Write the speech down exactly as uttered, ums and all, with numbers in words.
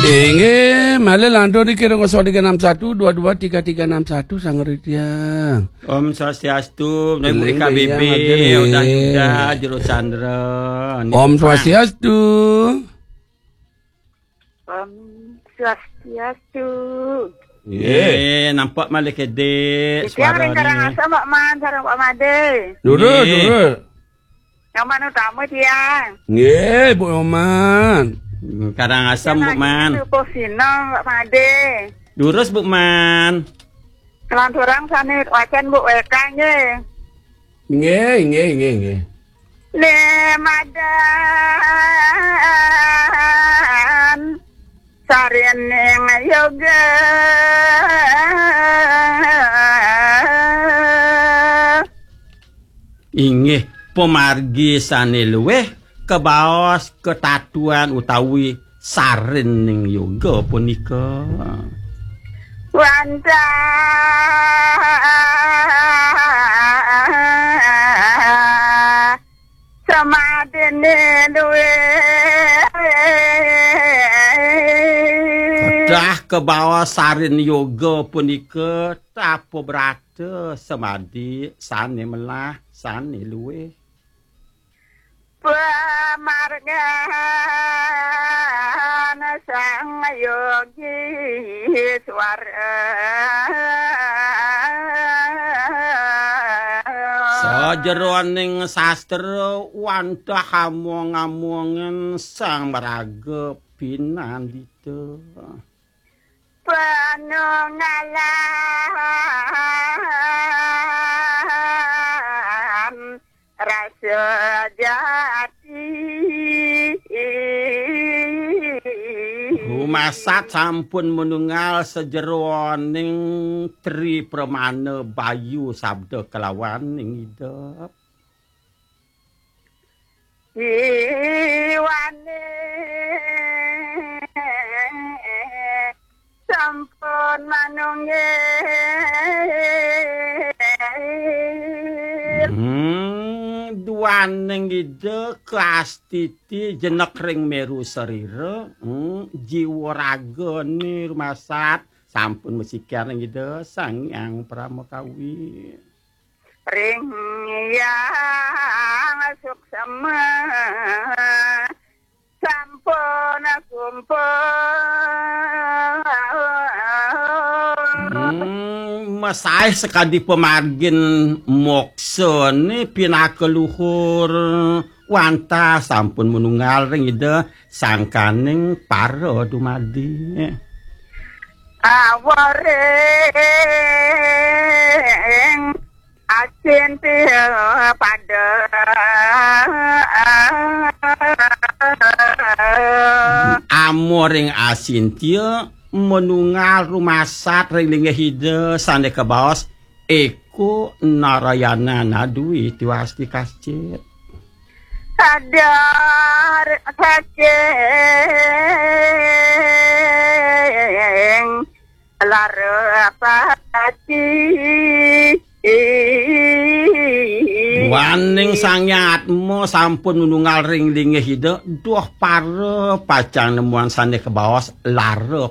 Inggih, malih lantur niki kira kosong tiga enam satu dua dua tiga tiga enam satu, Sang Ritya. Om Swastiastu, Ibu Eling K B B, Beyang, Aden, Udah nggih. Yuda, Jero Chandra. Om Swastiastu. Om Swastiastu. Nggih, nampak malih kedek suarane. Ring Karangasem, Pak Man, sareng Pak Made. Durus, nggih. Durus. Nyoman utama tiang. Nggih, Bu Nyoman. Karangasem, Bu Man. Subuh sinem, Pak Made. Durus, Bu Man. Kelanturang sane wacan, Bu, wekang, nggih. Nggih, nggih, nggih, nggih. Lemadan sarining yoga. Inggih, pamargi sane luwih kabaos katatuan utawi sarining yoga punika. Wantah samadine luwih. Kedah kabaos sarin yoga punika tapa brata samadi sane melah sane luwih. Pamargan sang yogi swara. Sajeroning sastra wantah among-amongen sang maraga pinandita. Panunggalan rasa jati. Rumasat sampun manunggal sajeroning tri pramana bayu sabda kalawaning Ida. Jiwane sampun manunggil. Hmm, duaning Ida kaastiti jenek ring meru sarira, hmm, jiwa ragane rumasat sampun masikian ring Ida Sang Hyang Parama Kawi. Ring Hyang Suksema sampun kumpul. Hmm, masaih sakadi pamargin moksane pinaka luhur wantah sampun manunggal ring Ida sangkaning para dumadi. Awaring asinti pada. Amoring asintia manunggal rumasat ring linggih Ida sane kabaos eko Narayana nadwi tiwasti kascit. Sadar saking lara pati. Waning Sang Hyang Atma sampun nununggal ring linggih Ida, duh para pacang nemuan sane kabaos lara